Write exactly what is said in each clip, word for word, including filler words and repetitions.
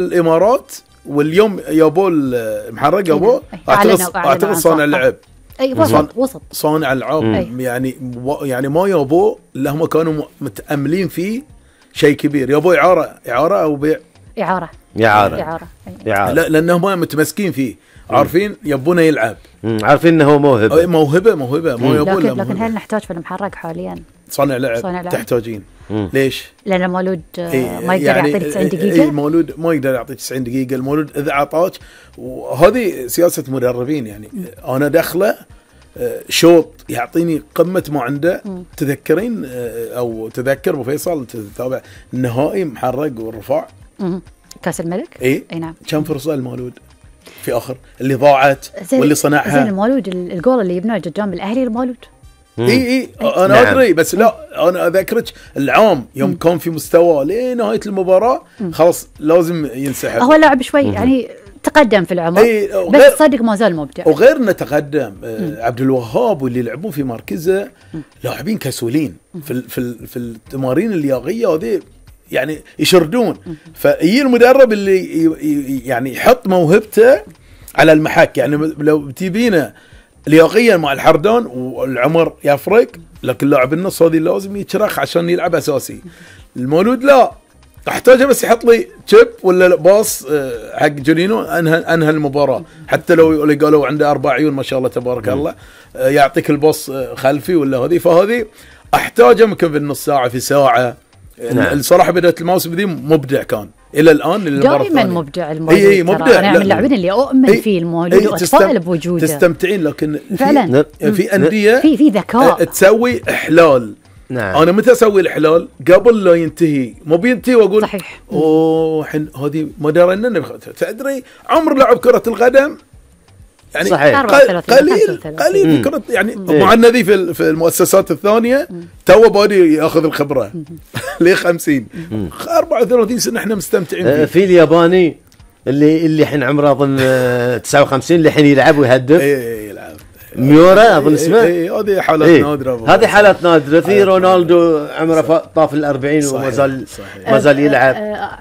الامارات واليوم يابو المحرق يابو اعتقد اعتقد صانع لعب اي وسط وسط صانع العاب يعني يعني ما يابو اللي هم كانوا متاملين فيه شيء كبير. يابو اعاره اعاره او بيع اعاره اعاره اعاره, إعارة. لا لانهم متمسكين فيه عارفين يبونه يلعب عارفين انه هو موهبه موهبه موهبه ما يبون. لكن, لكن هل نحتاج في المحرق حاليا صانع لعب, لعب. تحتاجين مم. ليش؟ لأن المولود إيه ما يقدر يعني يعطيك تسعين دقيقة. إيه المولود ما يقدر يعطيك تسعين دقيقة. المولود إذا عطاك وهذه سياسة مدربين يعني مم. أنا داخله شوط يعطيني قمة ما عنده. مم. تذكرين أو تذكر أبو فيصل تتابع النهائي محرق والرفاع مم. كأس الملك إيه أي نعم كم فرصة المولود في آخر اللي ضاعت واللي صنعها. زين المولود الجول اللي يبناه قدام الأهلي المولود اي اي انا نعم. ادري بس لا انا اذكرك العام يوم مم. كان في مستوى لنهايه المباراه خلاص لازم ينسحب. هو لاعب شوي مم. يعني تقدم في العمر بس صدق ما زال مبدع. وغير انه تقدم آه عبد الوهاب واللي يلعبون في مركزه لاعبين كسولين في في في التمارين اللياقيه هذه يعني يشردون. فهي المدرب اللي يعني يحط موهبته على المحك. يعني لو تبينه لياقيا مع الحردان والعمر يفرق لكن لاعب النص هذه لازم يتشرخ عشان يلعب اساسي. المولود لا احتاجه بس يحط لي تشيب ولا باص حق جونينو انهى انهى المباراه. حتى لو اللي قالوا عنده اربع عيون ما شاء الله تبارك الله يعطيك الباص خلفي ولا هذه. فهذه احتاجه يمكن في النص ساعه في ساعه. نعم. الصراحه بدايه الموسم ذي مبدع كان الى الان دائما مبدع المولود. اي اي مبدع. انا من اللاعبين اللي اؤمن فيه المولود واتفائل بوجوده. تستمتعين لكن فعلا في, في انديه في في ذكاء تسوي احلال. نعم. انا متى اسوي الاحلال قبل لا ينتهي مو بينتهي واقول صحيح اوه هذه ما درينا. تدري عمر لعب كره القدم يعني صحيح. قليل قليل كرة يعني مع النادي في في المؤسسات الثانيه تو بادي ياخذ الخبره ليه خمسين أربعة وثلاثين سنه احنا مستمتعين فيه. في الياباني اللي اللي الحين عمره اظن تسعة وخمسين اللي الحين يلعب ويهدف. اي يلعب ميورا اظن اسمه. اي هذه حالات إيه نادره. هذه حالات نادره. في رونالدو عمره طاف الأربعين وما زال ما زال يلعب.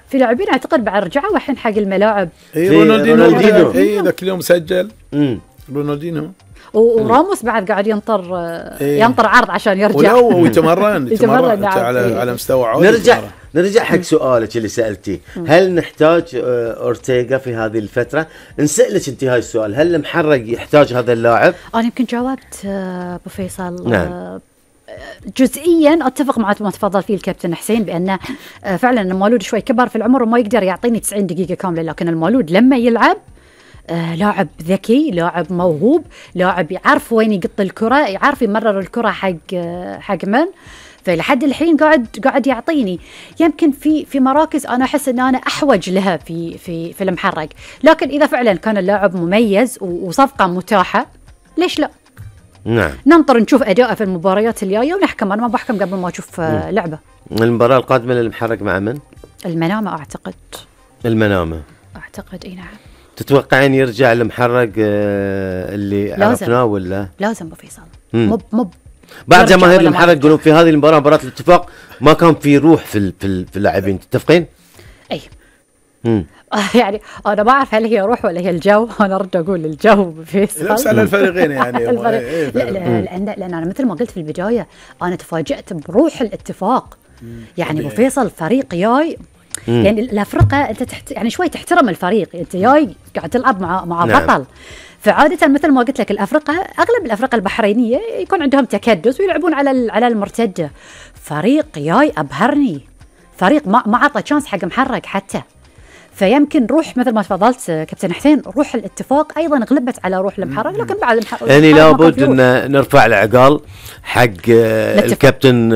في لاعبين اعتقد بعد رجعوا الحين حق الملاعب. اي رونالدينو اي ذاك اليوم سجل. امم رونالدينو وراموس بعد قاعد ينطر إيه ينطر عرض عشان يرجع ويتمرن يتمرن على على مستوى عالي. نرجع نرجع حق سؤالك اللي سألتيه هل نحتاج أورتيغا في هذه الفترة؟ نسألك انت هاي السؤال هل المحرق يحتاج هذا اللاعب؟ أنا يمكن جاوبت أبو فيصل. نعم. جزئيا اتفق مع ما تفضل فيه الكابتن حسين بانه فعلا المولود شوي كبر في العمر وما يقدر يعطيني تسعين دقيقة كاملة. لكن المولود لما يلعب آه لاعب ذكي لاعب موهوب لاعب يعرف وين يقط الكرة يعرف يمرر الكرة حق آه حق من. فلحد الحين قاعد قاعد يعطيني يمكن في في مراكز انا احس ان انا احوج لها في في في المحرق. لكن اذا فعلا كان اللاعب مميز وصفقة متاحة ليش لا. نعم. ننطر نشوف اداءه في المباريات الجايه ونحكم. انا ما بحكم قبل ما اشوف آه لعبه. المباراة القادمة للمحرق مع من؟ المنامة اعتقد. المنامة اعتقد اي نعم. تتوقعين يرجع المحرق اللي عرفناه ولا؟ لازم ابو فيصل. مب مب بعد جماهير المحرق يقولون في هذه المباراة مباراة الاتفاق ما كان في روح في في, في اللاعبين. تتفقين؟ اي. امم يعني انا ما اعرف هل هي روح ولا هي الجو. انا ارد اقول الجو فيصل. نفس على الفريقين يعني. الفريق. إيه لا لا لان لان انا مثل ما قلت في البداية انا تفاجأت بروح الاتفاق. يعني ابو فيصل فريق جاي يعني الافرقه انت تحت يعني شوي تحترم الفريق. انت جاي قاعد تلعب مع مع نعم. بطل. فعاده مثل ما قلت لك الافرقه اغلب الافرقه البحرينيه يكون عندهم تكدس ويلعبون على على المرتده. فريق جاي ابهرني. فريق ما ما عطى تشانس حق محرق حتى. فيمكن روح مثل ما تفضلت كابتن حسين روح الاتفاق ايضا غلبت على روح المحرق. لكن بعد المحرق يعني لابد ان نرفع العقال حق الكابتن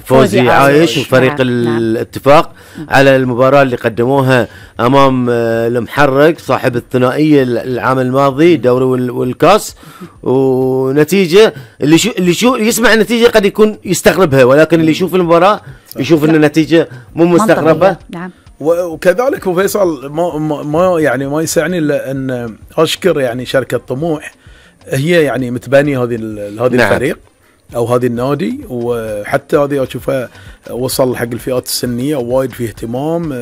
فوزي عايش وفريق نعم. الاتفاق نعم. على المباراة اللي قدموها امام المحرق صاحب الثنائية العام الماضي دوري والكاس. ونتيجة اللي شو اللي شو يسمع النتيجة قد يكون يستغربها ولكن اللي يشوف المباراة يشوف ان النتيجة مو مستغربة. نعم. وكذلك أبو فيصل ما, ما يعني ما يسعني الا ان اشكر يعني شركه طموح هي يعني متبانيه هذه هذه نعم. الفريق او هذه النادي. وحتى هذه اشوفها وصل حق الفئات السنيه وايد فيه اهتمام.